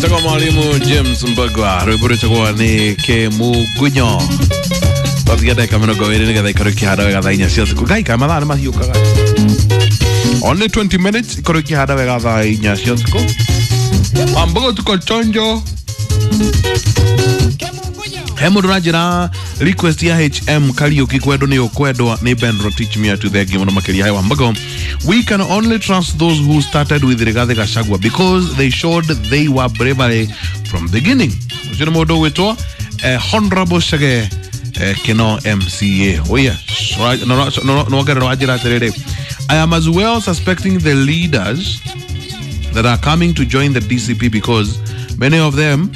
Etagwo mwalimu James Mbagwa, rwĩmbo rwĩtagwo nĩ Kĩmungunyo. Twatigia ndagĩka 20 nĩgetha ikorwo ikĩhanda wega thaa 4 cia ũtukũ. Ngai, kaĩ mathaa nĩ mahiũkaga. Only 20 minutes ikorwo ikĩhanda wega thaa 4 cia ũtukũ. Wambogo, tuko chonjo. He mũndũ ũranjĩra request ya HM Kariuki, kwendwo nĩ ũkwendwa nĩ Ben Rotich Mia tu. Thengi mũno makĩria. Hai Wambogo, we can only trust those who started with Rigathi Gachagua because they showed they were bravery from beginning. Ũcio nĩ mũndũ ũgwĩtwo Honorable Chege Kino MCA. Oh yes, nongerera wanjĩra atĩrĩrĩ, I am as well suspecting the leaders that are coming to join the DCP because many of them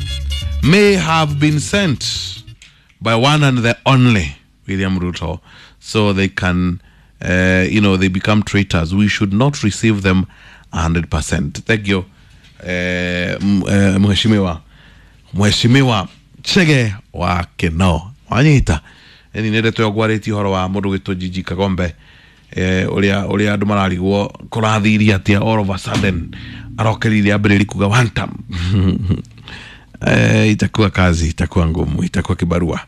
may have been sent by one and the only William Ruto, so they can, they become traitors. We should not receive them 100%. Thank you, Mheshimiwa Chege wa Kino. Wanyita. Eni nĩ ndeto ĩyo ũhoro wa mũndũ gwĩtwo Jiji Kagombe, ũrĩa andũ mararigwo kũrathirie atĩa, all of a sudden arokerire ambĩrĩri kuga one time. Itakuwa kazi, itakuwa ngumu, itakuwa kibarua,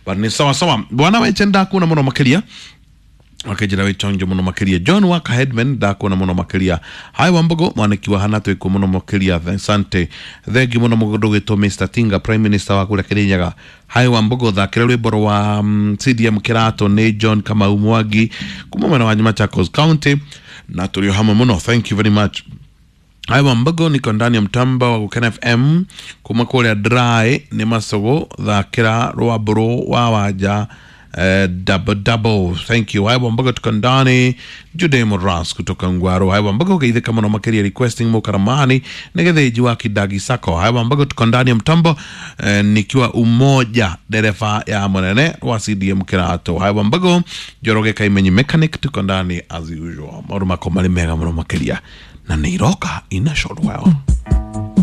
but ni sawa sawa. Bwana weche, ndakuona mũno makĩria, wakenjira wĩ chonjo mũno makĩria. John Waka Headman, ndakuona mũno makĩria. Hai Wambogo, mwaniki wa hana, twĩkuo mũno makĩria, asante, thengi mũno. Mũndũ gwĩtwo Mr Tinga, prime minister wa kũrĩa Kĩrĩnyaga. Hai Wambogo, thakĩra rwĩmbo rwa CDM Kĩrato. Nĩ John Kamau Mwangi kuma mwena wa Machakos County, na tũrĩ o hamwe mũno, thank you very much. Hai Wambogo, niko ndani ya mtamba wa Gukena FM kuma kũrĩa Dry nĩ Macogo, thakĩra rwambũrũ wa Wanja, double double, thank you. Hai Wambogo, tuko ndani. Jude Moras kutoka Ngwaro. Hai Wambogo, geithĩka mũno makĩria, requesting Mukaramani nĩ Gĩthĩnji wa Kidagi Sako. Hai Wambogo, tuko ndani ya mtambo, nikiwa Umoja, dereva ya mũnene wa CDM Kĩrato. Hai Wambogo, Njoroge Kaimenyi mechanic, tuko ndani as usual. Maũndũ makwa marĩ mega mũno makĩria na nĩ iroka in a short while.